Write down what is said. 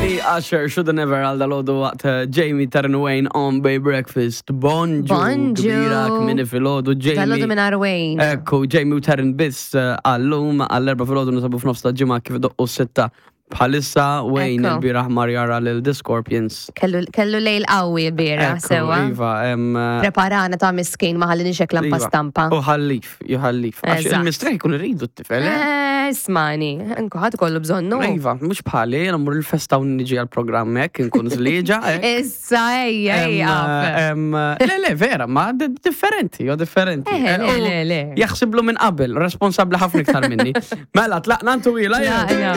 Britney Usher, Shoulda Never għal dalodu waqt eh, Jamie Taryn Wayne on Bay Breakfast. Bonġu. Bonġu. Kbira kmini filgħodu Jamie. Dalodu minn Wayne. Ekku, Jamie u Taryn biss eh, għallum għall-erba filgħodu nisabu f'nofs ta' ġimgħa kif doqqu sitta. Bħalissa Wayne Ekku. il-bieraħ mar jara lil The Scorpions. Kellu kellu lejl qawwi l-bieraħ Ekku, sewa. Iva, em, eh, Preparana ta' miskin ma ħallini xekla Iva. stampa. U ħallif, juħallif. Għax Eżatt. il-mistrieħ jkun irridu t-tifel, eh? Eh, Ismani, nkuħat kollu bżonnu. Iva, mhux bħali, jiena mmur il-festa u niġi għal-programm hekk, nkun żlieġa. hekk. Issa, ejja, ejja. Em, Le, le, vera, ma differenti, jo differenti. Eh, le, U le, le. Jaħsiblu minn qabel, responsabli ħafna iktar minni. Mela, tlaqna ntu ila, Tlaqna.